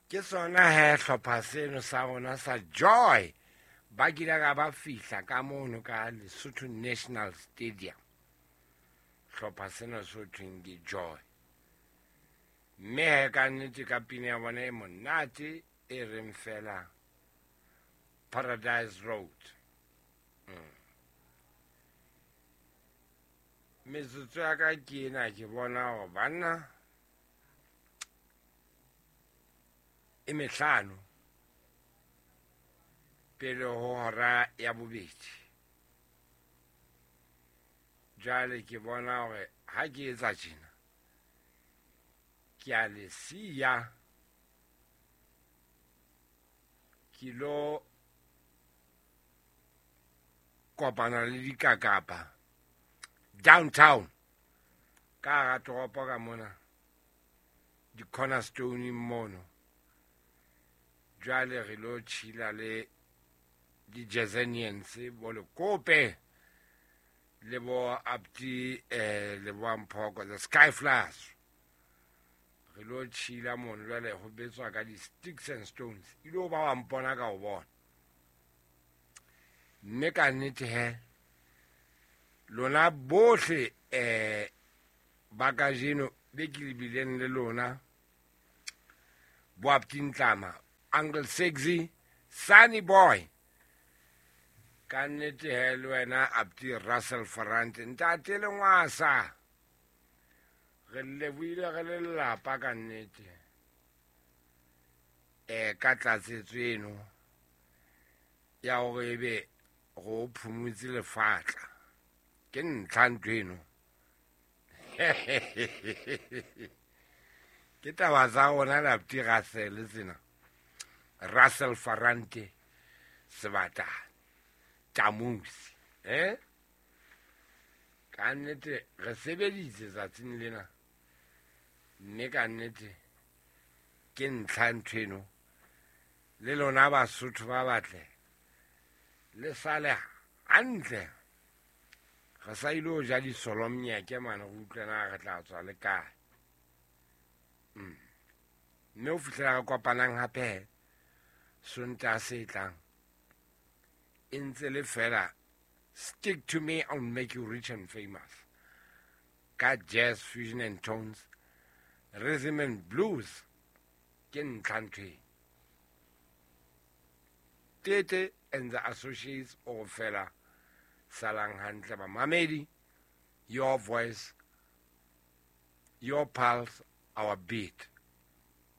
Ke sona he hlopha seno sa rona sa Joy ba kile ka ba fihla ka mono ka Lesotho National Stadium. Hlopha sena so thweng ke Joy. Mme he ka nnete ka pina ya bona e monate e reng fela Paradise Road. Metsotso ya ka ke ena, ke bona hore banna e mehlano pele ho hora ya bobedi. Jwale ke bona hore ha ke etsa tjena ke a le siya, ke lo kopana le dikakapa downtown ka hara toropo ka mona di-cornerstone mono. Jwale re lo chila le di-Jazanians bo Lekope le bo Abdi le bo Mphoko, the Skyflyers. Re lo chila mono jwale ho betswa ka di-sticks and stones. Ile ba wa mpona ka ho bona. Mme ka nnete he lona bohle ba kajeno be ke lebileng le lona, bo Abdi Ntlama, Uncle Sexy, Sunny Boy, ka nnete he le wena Abdi Russell Ferrante, ntate Lengwasa, re lebohile re le lelapa ka nnete ka tlatsetso eno ya hore ebe go phumutse lefatla. Ke ntlha ntho eno. Ke taba tsa rona le Abdi Russell tsena. Russell Ferrante Sebatane Tamusi. Ka nnete re sebeditse tsatsing lena, mme ka nnete ke ntlha ntho eno. Le lona Basotho ba batle le sale hantle. Re sa ile ho ja disolomnyeke mane, re utlwe na re tla tswa le kae. Mme ho fihlela re kopanang hape Sontaha se tlang, e ntse le fela stick to me, I'll make you rich and famous. Ka jazz, fusion and tones, rhythm and blues, ke ntlha ntho e. Tete and the Associates o fela salang hantle bamamedi, your voice, your pulse, our beat.